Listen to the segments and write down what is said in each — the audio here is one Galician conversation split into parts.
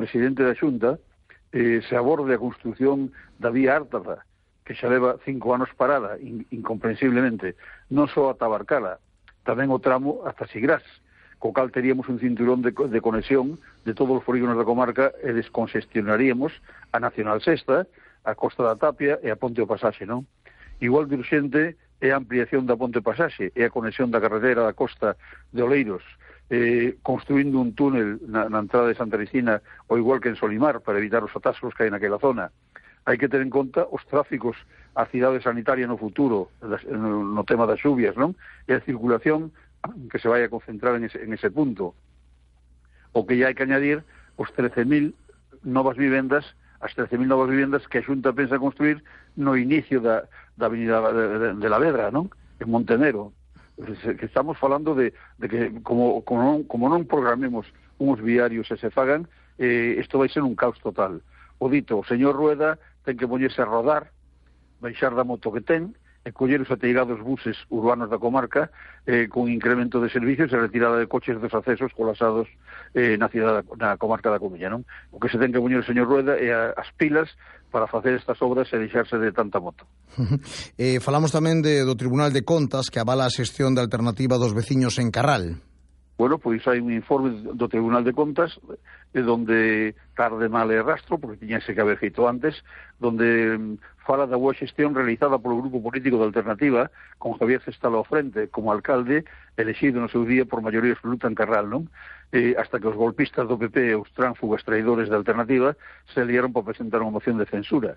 presidente da Xunta, se aborde a construción da vía Ártada, que xa leva 5 anos parada, incomprensiblemente, non só ata Barcala, tamén o tramo ata Sigrás, co cal teríamos un cinturón de conexión de todos os polígonos da comarca e descongestionaríamos a Nacional Sexta, a Costa da Tapia e a Ponte do Pasaxe, non? Igual de urxente é a ampliación da Ponte do Pasaxe e a conexión da carretera da Costa de Oleiros, construindo un túnel na entrada de Santa Cristina, ou igual que en Solimar, para evitar os atascos que hai naquela zona. Hai que ter en conta os tráficos á cidade sanitaria no futuro, no tema das xuvias, non? E a circulación que se vai a concentrar en ese punto. O que ya hai que añadir os 13.000 novas vivendas, as 13.000 novas vivendas que a Xunta pensa construir no inicio da avenida de la Vedra, non? En Montenero. Que estamos falando de que como non programemos uns viarios e se fagan, isto vai ser un caos total. O dito, o señor Rueda ten que poñerse a rodar, baixar da moto que ten, e coller os ateigados buses urbanos da comarca con incremento de servicios e retirada de coches dos accesos colapsados na comarca da Coruña, non? O que se ten que poñer o señor Rueda é as pilas para facer estas obras e deixarse de tanta moto. Falamos tamén do Tribunal de Contas que avala a xestión de alternativa dos veciños en Carral. Bueno, pois hai un informe do Tribunal de Contas donde tarde mal e rastro, porque tiñase que haber feito antes, donde fala da boa xestión realizada polo grupo político da Alternativa, con Javier Cestalo ao frente como alcalde, elexido no seu día por maioría absoluta en Carral, non? Hasta que os golpistas do PP e os tránsfugas traidores da Alternativa se liaron para presentar unha moción de censura.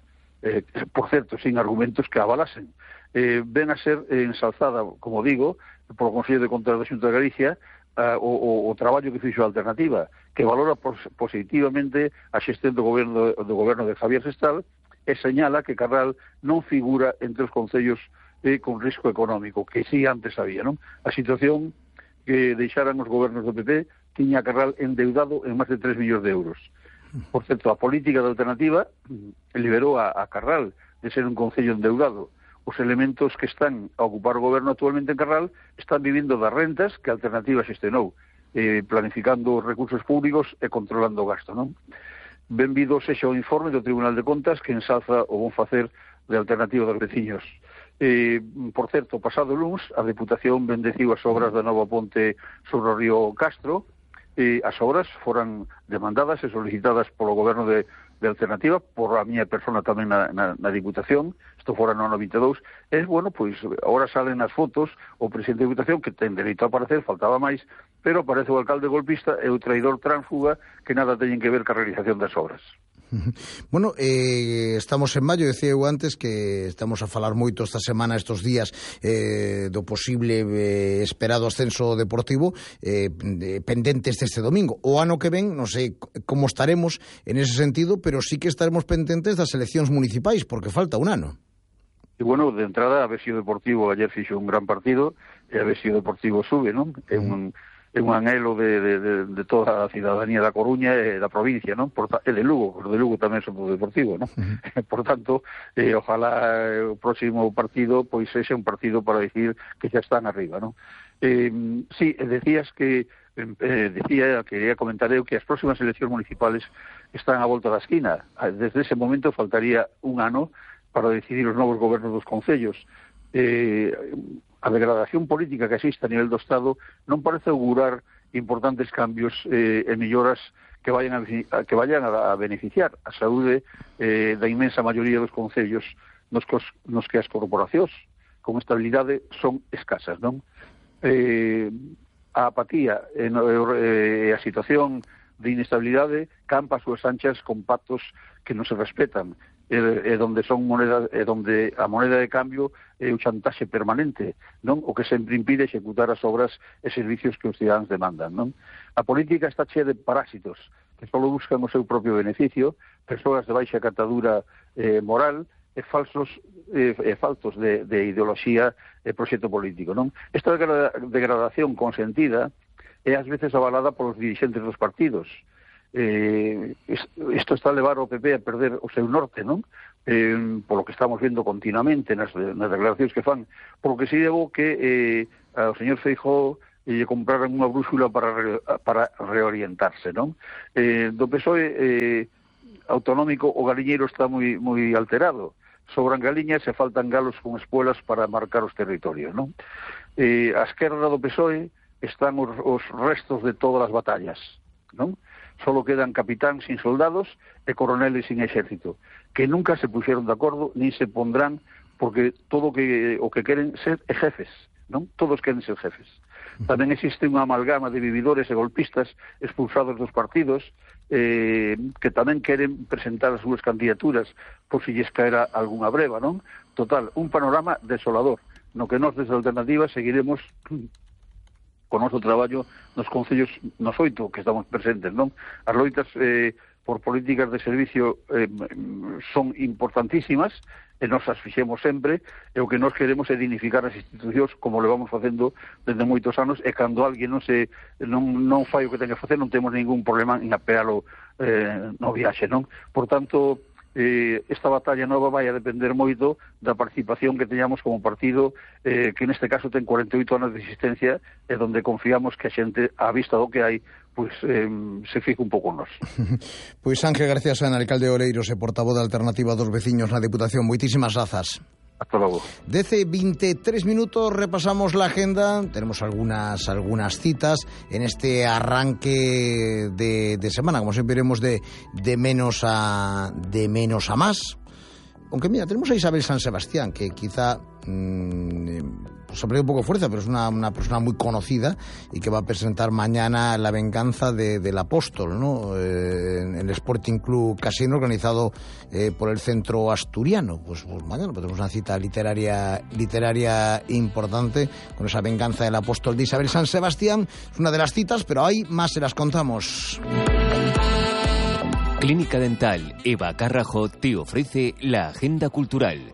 Por certo, sin argumentos que avalasen. Ven a ser ensalzada, como digo, polo Consello de Contas da Xunta de Galicia, o traballo que fixo a Alternativa, que valora positivamente a xestión do goberno de Javier Sestal e señala que Carral non figura entre os concellos con risco económico, que sí antes había, non? A situación que deixaran os gobernos do PP tiña a Carral endeudado en máis de 3 millóns de euros. Por certo, a política da Alternativa liberou a Carral de ser un concello endeudado. Os elementos que están a ocupar o goberno actualmente en Carral están vivindo das rentas que a Alternativa xestionou, planificando os recursos públicos e controlando o gasto, non? Benvido sexa o informe do Tribunal de Contas que ensalza o bon facer de Alternativa dos veciños. Por certo, pasado luns, a Deputación bendeciu as obras da nova ponte sobre o río Castro. As obras foran demandadas e solicitadas polo goberno de Alternativa, por a miña persona tamén na Diputación, isto fora no 92, bueno, pois, agora salen as fotos, o presidente da Diputación, que ten dereito a aparecer, faltaba máis, pero aparece o alcalde golpista e o traidor tránsfuga que nada teñen que ver ca realización das obras. Bueno, estamos en maio, decía eu antes que estamos a falar moito esta semana, estes días, do posible esperado ascenso deportivo, pendentes deste domingo. O ano que ven, non sei como estaremos en ese sentido, pero sí que estaremos pendentes das eleccións municipais, porque falta un ano. E, bueno, de entrada, a Avesio Deportivo ayer fixo un gran partido, e a Avesio Deportivo sube, non? É un anhelo de toda a cidadanía da Coruña e da provincia, non? E de Lugo, porque de Lugo tamén somos deportivo, non? Por tanto, ojalá o próximo partido pois sexa un partido para decir que xa están arriba, non? Sí, decías que quería comentar eu que as próximas eleccións municipales están á volta da esquina. Desde ese momento faltaría un ano para decidir os novos gobernos dos concellos. A degradación política que existe a nivel do Estado non parece augurar importantes cambios e melloras que vayan a beneficiar a saúde da inmensa maioría dos concellos nos que as corporacións con estabilidade son escasas, non? A apatía e a situación de inestabilidade campa as súas anchas con pactos que non se respetan, donde a moneda de cambio é o chantaxe permanente, non? O que sempre impide executar as obras e servicios que os cidadáns demandan, non? A política está chea de parásitos que só buscan o seu propio beneficio, persoas de baixa catadura moral e faltos de ideoloxía e proxecto político, non? Esta degradación consentida é ás veces avalada polos dirixentes dos partidos. Isto está a levar ao PP a perder o seu norte, non? Polo que estamos vendo continuamente nas declaracións que fan, polo que si debo que o señor Feijóo e lle compraran unha brúxula para reorientarse, non? Do PSOE autonómico o galiñeiro está moi alterado. Sobran galiñas e faltan galos con espuelas para marcar os territorios, non? A esquerda do PSOE están os restos de todas as batallas, non? Solo quedan capitáns sin soldados e coroneles sin exército, que nunca se puxeron de acordo ni se pondrán, porque todo o que queren ser é jefes, non? Todos queren ser jefes. Tamén existe unha amalgama de vividores e golpistas expulsados dos partidos que tamén queren presentar as súas candidaturas por si lles caera algunha breva, non? Total, un panorama desolador, no que nós desde a Alternativa seguiremos con o noso traballo nos concellos, nos 8 que estamos presentes, non? As loitas por políticas de servicio son importantísimas, e nos as fixemos sempre, e o que nos queremos é dignificar as institucións como lo vamos facendo desde moitos anos, e cando alguén non fai o que ten que facer, non temos ningún problema en apealo no viaxe, non? Por tanto, esta batalla nova vai a depender moito da participación que teñamos como partido, que neste caso ten 48 anos de existencia, e donde confiamos que a xente, á vista do que hai, pois se fique un pouco nos. Pois Ángel García Soen, alcalde de Oleiros e portavoz da Alternativa dos Veciños na Deputación, moitísimas grazas. Hasta logo. 23 minutos, repasamos la agenda. Tenemos algunas citas en este arranque de semana. Como siempre iremos de menos a más. Aunque mira, tenemos a Isabel San Sebastián, que quizá se ha perdido un poco de fuerza, pero es una persona muy conocida y que va a presentar mañana La venganza del apóstol, ¿no? En el Sporting Club Casino, organizado por el Centro Asturiano. Pues mañana tenemos una cita literaria importante con esa venganza del apóstol de Isabel San Sebastián. Es una de las citas, pero hay más, se las contamos. Clínica Dental Eva Carrajo te ofrece la agenda cultural.